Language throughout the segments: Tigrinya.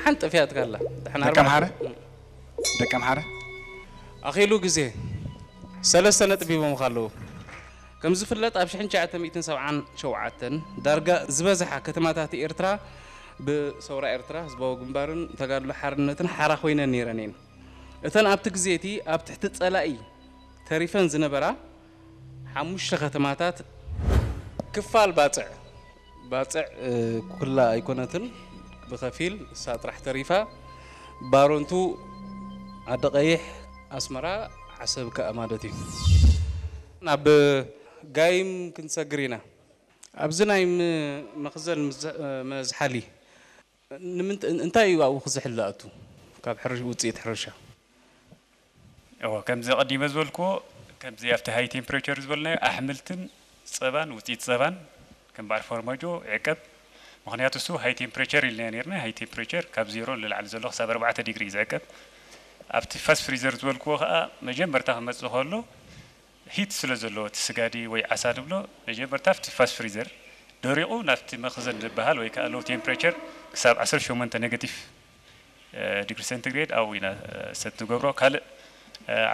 ሓንቲ ጠፊኣትካ ኣላ። ደሓን ደቂ ኣርባዕተ- ኣምሓረ? ደቂ ኣምሓረ? ኣኺሉ ግዜ ሰለስተ ነጥቢ ሂቦምኻ ኣለዉ። ከም ዝፍለጥ ኣብ ሽሕን ትሽዓተ ሚእትን ሰብዓን ሸውዓተን ዳርጋ ዝበዝሓ ከተማታት ኤርትራ ብሰውራ ኤርትራ ህዝባዊ ግንባርን ተጋድሎ ሓርነትን ሓራ ኮይነን ነይረን እየን። እተን ኣብቲ ግዜ እቲ ኣብ ትሕቲ ጸላኢ ተሪፈን ዝነበራ ሓሙሽተ ከተማታት ክፋል ባጽዕ፣ ባጽዕ ኩላ ኣይኮነትን፣ ብኸፊል እሳ ጥራሕ ተሪፋ፣ ባሮንቱ፣ ዓዲ ቀይሕ፣ ኣስመራ፣ ዓሰብ ከኣ ማለት እዩ። ናብ ጋይም ክንሰግር ኢና። ኣብዚ ናይ ም- መኽዘን ምዝ- መዝሓሊ ንምንት- እንታይ እዩ ኣብኡ ክዝሕል ዝኣቱ ካብ ሕርሽ ውፅኢት ሕርሻ? እዎ ከምዚ ቀዲመ ዝበልክዎ ከምዚ ኣብቲ ሃይ ቴምፕሬቸር ዝበልናዮ ኣሕምልትን ጸባን ውፅኢት ጸባን ከም በዓል ፎርማጆ ይዕቀብ። ምክንያቱ እሱ ሃይ ቴምፕሬቸር ኢልና ነርና። ሃይ ቴምፕሬቸር ካብ ዜሮ ንላዕሊ ዘሎ ክሳብ ኣርባዕተ ዲግሪ እዩ ዝዕቀብ። ኣብቲ ፋስት ፍሪዘር ዝበልክዎ ከዓ መጀመርታ ክመፅእ ከሎ ሂት ስለ ዘለዎ እቲ ስጋዲ ወይ ዓሳ ንብሎ መጀመርታ ኣብቲ ፋስት ፍሪዘር ደሪቑ ናብቲ መኽዘን ዝበሃል ወይ ከዓ ሎው ቴምፕሬቸር ክሳብ ዓሰርተ ሸሞንተ ኔጋቲቭ ዲግሪ ሴንቲግሬድ ኣብኡ ኢና ሰት ንገብሮ። ካልእ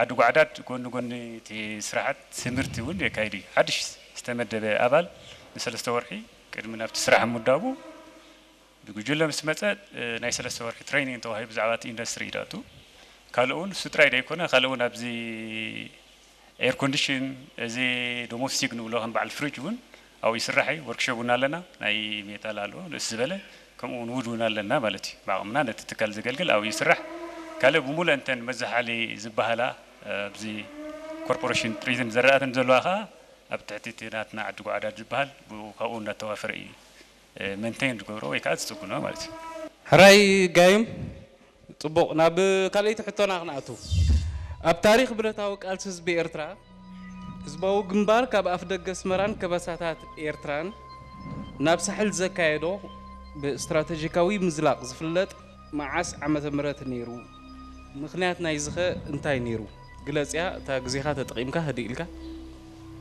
ዓዲ ጓዕዳድ ጎኒ ጎኒ እቲ ስራሓት ትምህርቲ እውን የካይድ እዩ። ሓድሽ ዝተመደበ ኣባል ንሰለስተ ወርሒ ቅድሚ ናብቲ ስራሕ ምዳቡ ብጉጅለ ምስ መፀ ናይ ሰለስተ ወርሒ ትሬኒንግ ተዋሂቡ ብዛዕባ እቲ ኢንዱስትሪ እዩ ዝኣቱ። ካልእ እውን እሱ ጥራይ ዘይኮነ ካልእ እውን ኣብዚ ኤር ኮንዲሽን እዚ ዶሞስቲክ ንብሎ ከም በዓል ፍሪጅ እውን ኣብኡ ይስራሕ እዩ። ወርክሾፕ እውን ኣለና፣ ናይ ሜታል ኣሎ ንእስ ዝበለ ከምኡ እውን ውድ እውን ኣለና ማለት እዩ። ብዓቕምና ነቲ ትካል ዘገልግል ኣብኡ ይስራሕ። ካልእ ብሙሉእ እንተን መዘሓሊ ዝበሃላ ኣብዚ ኮርፖሬሽን ጥሪትን ዘረኣትን ዘለዋ ከዓ ኣብ ትሕቲ እቲ ናትና ዓዲ ጓዕዳድ ዝበሃል ብኡ ካብኡ እናተዋፈረ እዩ መንቴን ዝገብሮ ወይ ከዓ ዝፅግኖ ማለት እዩ። ሕራይ ጋይም፣ ፅቡቕ። ናብ ካልኣይቲ ሕቶና ክንኣቱ። ኣብ ታሪክ ብረታዊ ቃልሲ ህዝቢ ኤርትራ ህዝባዊ ግንባር ካብ ኣፍ ደገ ኣስመራን ከበሳታት ኤርትራን ናብ ሳሕል ዘካየዶ ብስትራተጂካዊ ምዝላቕ ዝፍለጥ መዓስ ዓመተ ምህረት ነይሩ? ምኽንያት ናይዚ ኸ እንታይ ነይሩ? ግለጽያ፣ እታ ግዜኻ ተጠቒምካ ህድእ ኢልካ።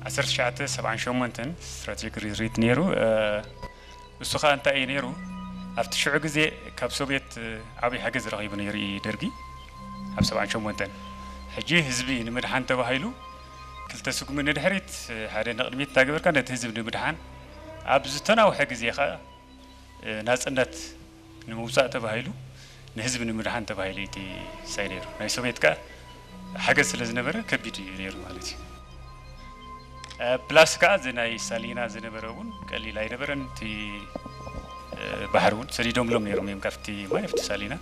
ዓሰርተ ትሽዓተ ሰብዓን ሸሞንተን ስትራቴጂክ ሪትሪት ነይሩ። እሱ ኸኣ እንታይ እዩ ነይሩ? ኣብቲ ሽዑ ግዜ ካብ ሶቪየት ዓብዪ ሓገዝ ረኺቡ ነይሩ እዩ ደርጊ ኣብ ሰብዓን ሸሞንተን። ሕጂ ህዝቢ ንምድሓን ተባሂሉ ክልተ ስጉሚ ንድሕሪት ሓደ ንቕድሚት እናገበርካ ነቲ ህዝቢ ንምድሓን ኣብ ዝተናውሐ ግዜ ኸኣ ናጽነት ንምውጻእ ተባሂሉ ንህዝቢ ንምድሓን ተባሂሉ እቲ ሳይ ነይሩ። ናይ ሶቪየት ከኣ ሓገዝ ስለ ዝነበረ ከቢድ እዩ ነይሩ ማለት እዩ። ፕላስ ከኣ እዚ ናይ ሳሊና ዝነበረ እውን ቀሊል ኣይነበረን። እቲ ባሕሪ እውን ሰዲዶምሎም ነይሮም እዮም ካብቲ ማይ ኣብቲ ሳሊና።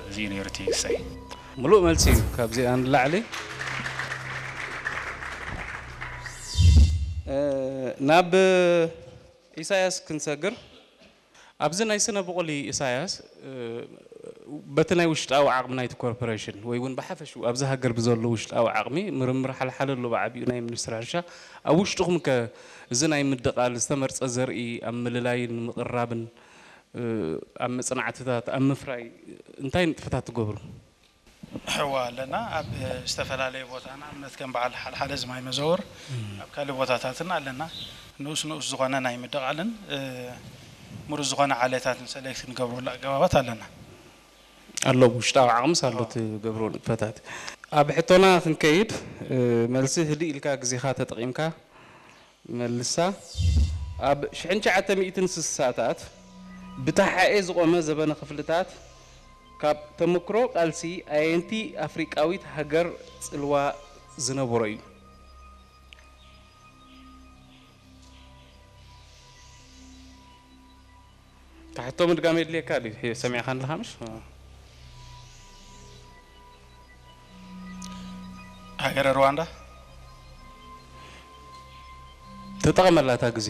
እዚ እዩ ነይሩ እቲ ክሳይ። ምሉእ መልሲ እዩ ካብዚኣ ንላዕሊ። ናብ ኢሳያስ ክንሰግር። ኣብዚ ናይ ስነ ብቑሊ ኢሳያስ፣ በቲ ናይ ውሽጣዊ ዓቕሚ ናይቲ ኮርፖሬሽን ወይ እውን ብሓፈሽኡ ኣብዚ ሃገር ብዘሎ ውሽጣዊ ዓቕሚ ምርምር ሓልሓለ ኣሎ ብዓቢኡ ናይ ሚኒስትሪ ሕርሻ። ኣብ ውሽጥኹም ከ እዚ ናይ ምድቓል ዝተመርጸ ዘርኢ ኣብ ምልላይን ምቕራብን ኣብ መጽናዕትታት ኣብ ምፍራይ እንታይ ንጥፈታት ትገብሩ? ሕዋ ኣለና ኣብ ዝተፈላለየ ቦታ ንኣብነት ከም በዓል ሓልሓለ ዝማይ መዘወር ኣብ ካልእ ቦታታትን ኣለና። ንኡስ ንኡስ ዝኾነ ናይ ምድቓልን ምሩፅ ዝኾነ ዓሌታትን ሰሌክት ንገብረሉ ኣገባባት ኣለና። ኣሎ ውሽጣዊ ዓቕምስ ኣሎ ትገብሮ ንጥፈታት። ኣብ ሕቶና ክንከይድ፣ መልሲ ህድእ ኢልካ ግዜኻ ተጠቒምካ መልሳ። ኣብ ሽሕን ትሽዓተ ሚእትን ስሳታት ብተሓኤ ዝቖመ ዘበነ ክፍልታት ካብ ተመክሮ ቃልሲ ኣየንቲ ኣፍሪቃዊት ሃገር ጽልዋ ዝነበሮ እዩ? እታ ሕቶ ምድጋም የድልየካ ድዩ? ሰሚዕካ ኣለኻ ምሽ? ሃገረ ሩዋንዳ። ተጠቐመላ እታ ግዜ።